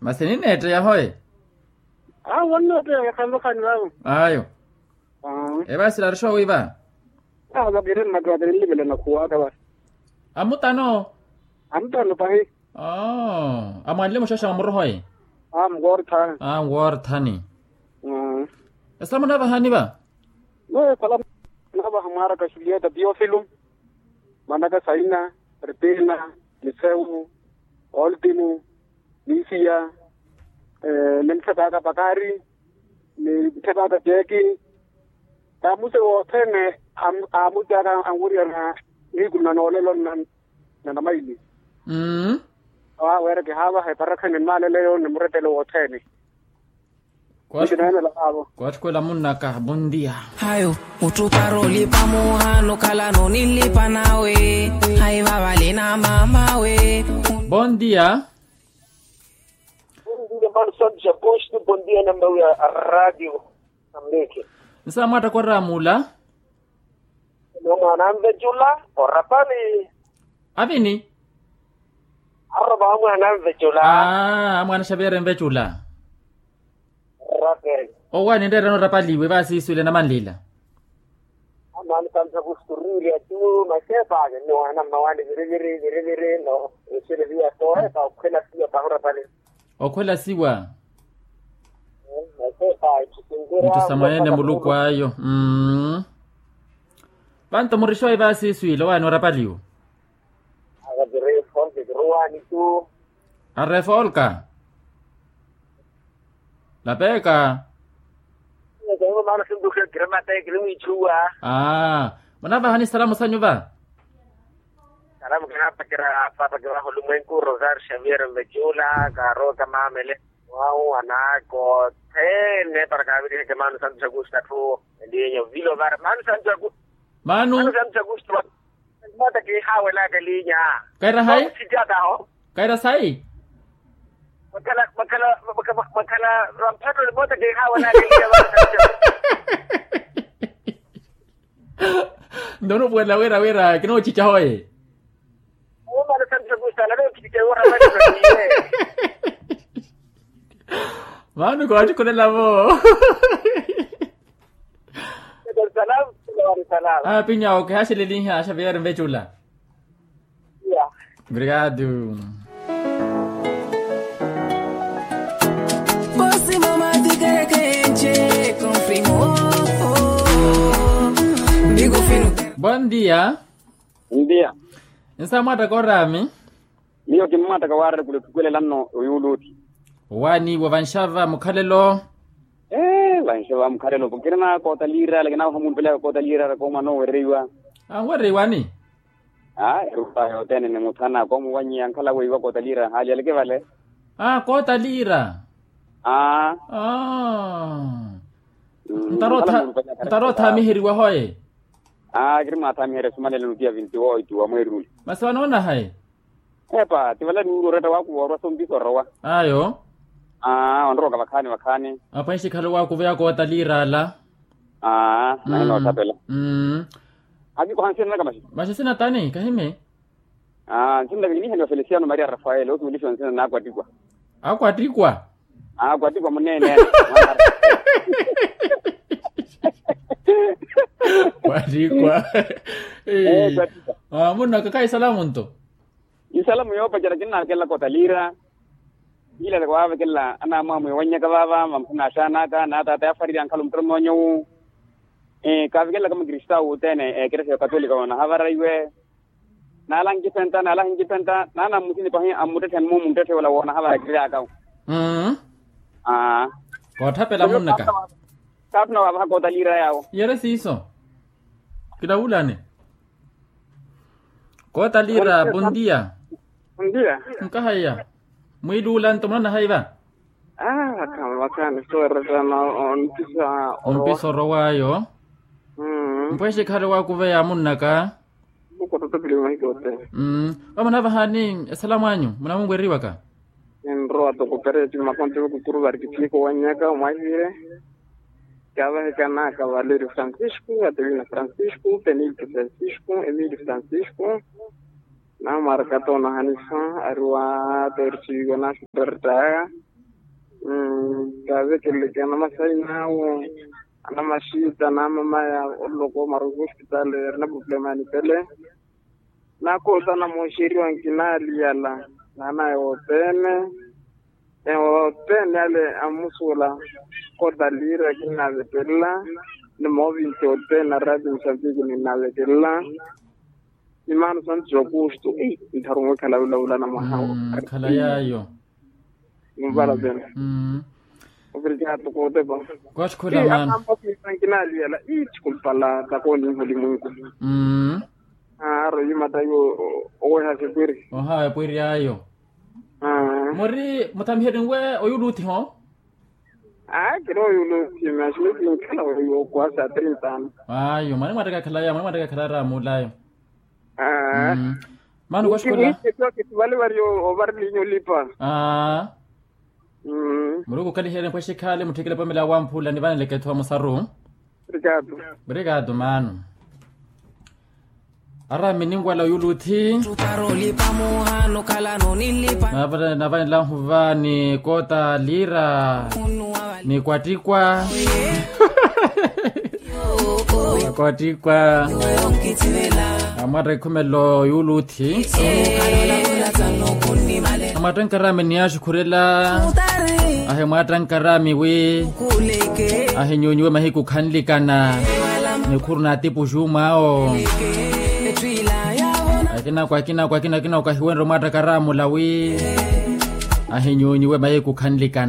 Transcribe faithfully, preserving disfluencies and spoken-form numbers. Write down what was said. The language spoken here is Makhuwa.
Masi ninneetteya hoe? Awo onneetteya vakhaani vakhaani vaavo. Ayo. Evaasila arixowi va? Awo vakiri nnakatiri nlivele nakhuwaka va. Amutano? Amutano pahi. Amwanle muxaxa wa murohoyi? Amwoorthani. Amwoorthani. Esala munavahani va? Mwe esala munavaha mwaaraka xulieta tiofilo, mwanaka saina, ripina, nisewu, oltimo, misia, ni mutthepaka pakari, ni mutthepaka jeeki. Tamusi wothene amutyaka anwiriyana niikuna noolelo nna namaili. Awo aweereke haavaha eparakhani mmaaleleyo ni murettelo wothene. Kwattikhwela munnaka bondia. Hayo. Mutthu para olipa muhano khalano ninlipa nawe. Hayi vavale na mamawe. Bondia. Bondia mano santu japosto bondia na mbawi ya radio. Nsa mwattakora mula. Nomwana anvecula orapali. Avini? Arova amwana anvecula. Amwana xaviere nvecula. Orapali. Owaani nreerano orapaliwe vaasiiswile namanlila. Amwana santu japosto riri atu masepa ake nnowana mmawaani viriviri viriviri no. Eseleviya sohepa okhwela siya paha orapali. Okhwela siwa. Mittu sa mwaneene muluku ayo. Vanto murixowe vaasiiswile owaani orapaliwo. Arefolka. Lapeka. Munavahani salamu sanyu va? Salamu kinaapakira paapakira vaho lumwenku rosario xavier mvecula kaarooka mamele. Wawu anaaka othene para kaaviriheke mano santu jakusta atthu elinya ovila ovara mano santu jakusta. Mano santu jakusta. Mota kiihawelaka elinya. Kaira hayi? Kaira sayi? Makhala makhala makhala makhala vamphatoni mota kiihawelaka elinya. Nto onupuwelela wira wira kinoochicha hoye. Mano kootikhulela vo. Apinyawo kihaxeleliha xavier mvecula. Obrigado. Bon dia. Ndia. Nsa mwaattaka oraami. Miyo kimmwaattaka waarari khula otthukuwelela nno oyuuluti. Owaaniiwa vanxava mukhalelo. Ee vanxava mukhalelo kirina koota liirala kinaawaha muulupelaka koota liirala koomwana owereiwa. Anwereiwani? Aa erupa yothene ni muthana koomuwanyiya nkhala weiwa koota liira haali aleke vale. Aa koota liira. Aa. Ntaroothaamiheriwa hoye. Aa kiri mwaathaamiherya esumanelo nutiya vinti-oito wa mweeri ule. Masi vanoona hayi? Epa ti vala nuuru oretta waaku woorwa sompiso orowa. Ayo. Aa onroka vakhaani vakhaani. Apwenxi khale waakuveya koota liira ala. Aa nahina ottapela. Akikoha nsinanaka maxi. Maxi sinatani kahimi. Aa nsinanaka kinihaniwa feliciano maria rafael osuwelixiwa nsina n'akwatikwa. Akwatikwa. Akwatikwa muneene. Kwatikwa. Munnaka kahi salamu nto. Isalamu yoopacerya kinnaakelaka otaliira. Kiilelaka waavekelela anaamwaamwiya owannyaka vaava mamphu naaxaanaka naataata yaafarirya nkhala omuttoron'onyowu. Kaavekelelaka mukristawu wuuthene ekerexa ya okatolika woonahavara iwe. Naala ankipenta naala ankipenta naana mmusini pahi ammuttetthe mmu munttetthe wala woonahavara kiriakawu. Aa. Kootthapela munnaka. Kaathuna waavahaka otaliira yaawo. Yere siiso. Kilawulani. Kootaliira bondia. Bondia. Nkahaiya. Mwiiluula nto munaona haiva? Aa vakhaani vakhaani sowerettana. Ompisa orowa. Ompisa orowa ayo. Mpwexe khale waakuveya munnaka. Mukottottopile mahiko othene. Vamunavahani esalamu anyu munamunweriwaka? Ninrowa toko pereti makonti vakukuru vari kithiyeke owannyaka omwahivire. Kaavahekanaka valerio francisco adelina francisco penilto francisco emilio francisco. Namarkata onahanisa ari wa tersigo na supertaya. Kavekeleke anamasayi nawo, anamashita namamaya oloko maruku hospitali eri na problema ya nipele. Nakoota namoxeriwa nkinaliyala nanaye wotene. Ewo tene ale amusuula. Kota lira kinnavekelela ni movinti otene arati musambiki ninnavekelela. Ni mano santos aukusto ei ntharu mwekhala ulavulana mwahawo. Khala yayo. Nimpala tene. Obrigado kotepa. Kwatthi khula mano. Kinaliyala ii thikulupala takoni nhulimwinku. Aaro yimata yo. Oweha sipwiri. Oha epwiri ayo. Muri muthamiheni nwe oyuluthi ho? Aa kiri oyuluthi maxini kinkhala weyo kwa sa trintano. Ayo mwane mwattaka khalaya mwane mwattaka khalaya raamulayo. Mano kwashikhula. Vale vari ovari linyo lipa. Aa. Muri okukaliherya mpweshi khale mutthikile pomela wamphula nivaneleke ethu amusaru. Obrigado. Obrigado mano. Arami ninwala oyuluthi. Navanela nhuva ni kota lira ni kwattikwa. Kwattikwa. Amwatta ikhumelo yuuluthi. Amwatta nkarami ni axukhurela. Ahi mwatta nkarami wi. Ahinyunyiwe mahiku khanlikana. Nikhuru na atipuxu mwawo. Akinako akinako akinako akinako ahiwenre omwatta karamula wi. Ahinyunyiwe mahiku khanlikana.